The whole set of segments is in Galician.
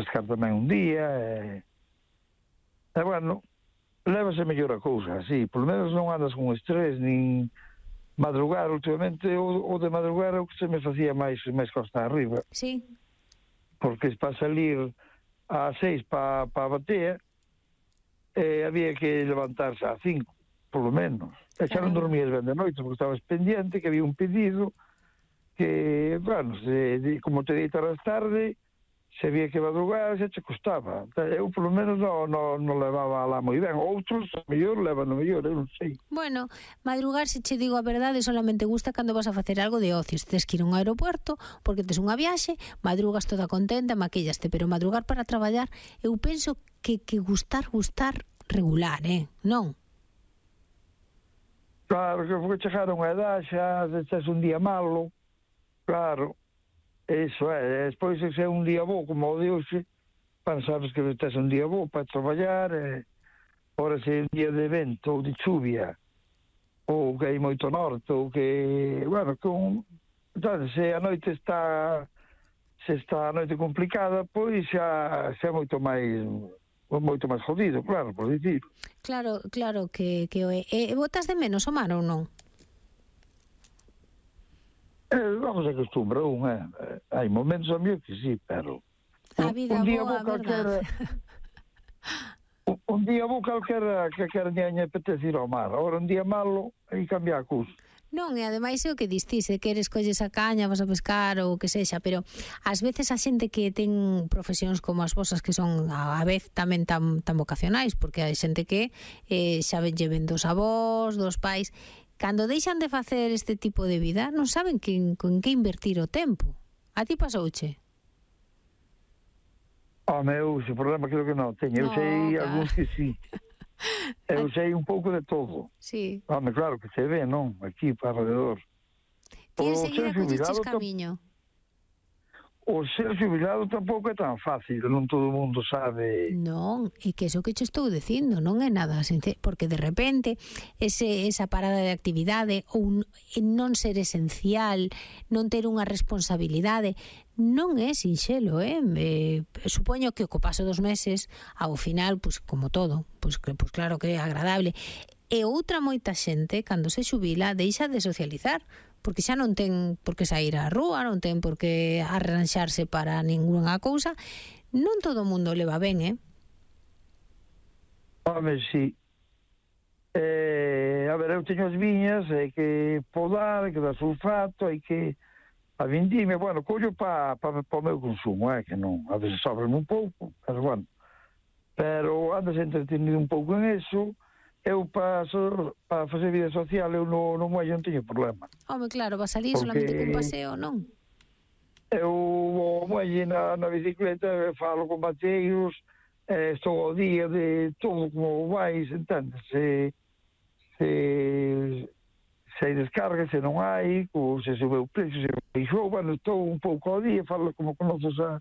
pescar tamén un día, e bueno, lévase mellor a cousa, así, polo menos non andas con estrés, nin madrugar últimamente, o de madrugar é o que se me facía máis costa arriba. Sí. Porque para salir ás 6 para a batea, había que levantarse ás 5, polo menos. E xa non dormías ben de noite, porque estabas pendiente, que había un pedido, que, bueno, como te deitas tarde, se había que madrugar, xa che costaba. Eu, polo menos, non levaba lá moi ben. Outros, a mellor, levan o mellor, eu non sei. Bueno, madrugar, se che digo a verdade, solamente gusta cando vas a facer algo de ocio. Se tes que ir a un aeropuerto, porque tes unha viaxe, madrugas toda contenta, maquillaste, pero madrugar para traballar, eu penso que gustar regular, non? Claro, que porque chegar a unha edad, xa tes un día malo, claro. Eso é, despois se é un día bo como o de hoxe, sabes que tes un día bo para traballar, ora se é un día de vento ou de chuvia, ou que hai moito norte, ou que, bueno, se a noite está a noite complicada, pois xa é moito máis jodido, claro, por dicir. Claro que o é. Botas de menos o mar ou non? Vamos a acostumbrar hai momentos a mí que sí, pero a vida un día boa, verdad? Un día bo calquera nin apetece ir ao mar. Agora un día malo e cambiar a cousa. Non, e ademais é o que distise, que eres colles a caña, vas a pescar ou o que sexa, pero ás veces a xente que ten profesións como as vosas, que son a vez tamén tan vocacionais, porque hai xente que xa lle ven dos avós, dos pais, cando deixan de facer este tipo de vida, non saben con que invertir o tempo. A ti pasouche? Eu, ese problema creo que non teño. Eu sei algúns que sí. Eu sei un pouco de todo. Sí. Claro que se ve, non? Aquí, para alrededor. Ti enseguida colleches camiño. O ser xubilado tampouco é tan fácil, non todo o mundo sabe. Non, e que eso que che estou dicindo non é nada sencillo, porque de repente esa parada de actividade ou non ser esencial, non ter unha responsabilidade, non é sinxelo, supoño que co paso dos meses, ao final, pois como todo, pois claro que é agradable. E outra moita xente, cando se xubila, deixa de socializar, porque xa non ten por que sair á rúa, non ten por que arranxarse para ningunha cousa. Non todo o mundo leva ben, Sí. A ver, eu teño as viñas, hai que podar, hai que dar sulfato, hai que a vindime, bueno, collo para o meu consumo, que non, a veces sobra un pouco, pero bueno. Pero andas entretenido un pouco en eso. Eu para facer vida social eu no muelle non teño problema. Home, claro, vas salir solamente cun paseo, non? Eu o muelle na bicicleta, falo con bateiros, estou ao día de todo como vais, entendes? Se hai descarga, se non hai, se sube o precio, se baixou, bueno, estou un pouco ao día, falo como conoces a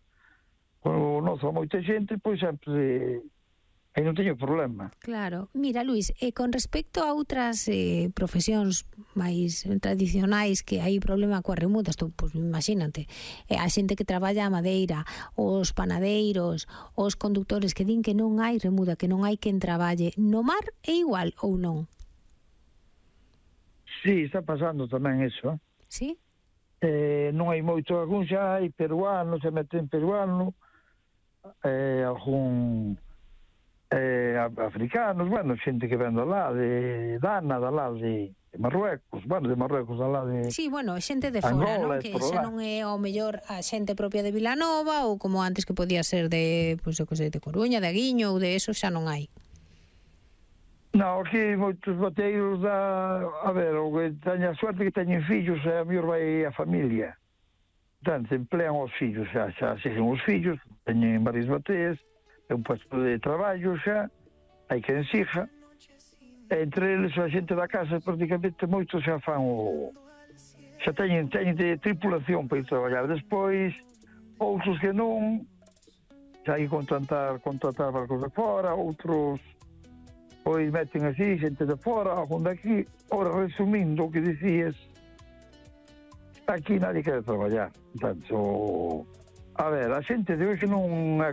moita xente, pois sempre... E non teño problema. Claro. Mira, Luís, con respecto a outras profesións máis tradicionais que hai problema coas remudas, pois imagínate, a xente que traballa a madeira, os panadeiros, os condutores que din que non hai remuda, que non hai quen traballe, no mar é igual ou non? Sí, está pasando tamén eso. Sí? Non hai moito, algún xa hai peruano, se meten peruano, algún... africanos, bueno, xente que ven lá de Dana, lá de Marruecos, bueno, de Marruecos lá de... Sí, bueno, xente de fora, non? Que xa non é ao mellor a xente propia de Vilanova ou como antes que podía ser de, pois eu que sei, de Coruña, de Aguiño ou de eso, xa non hai. Non, aquí moitos bateiros a ver, o que teña a suerte que teñen fillos, a mellor vai a familia. Entón, se emplean os fillos, xa sexen os fillos, teñen varias bateas, é un puesto de traballo xa, hai que ensija, entre eles a xente da casa prácticamente moitos xa fan xa teñen de tripulación para ir traballar. Despois outros que non, xa hai que contratar barcos de fora, outros pois meten así xente de fora, algún daqui. Ora, resumindo o que dicías, aquí nadie quere traballar, tanto, a ver, a xente de hoxe non é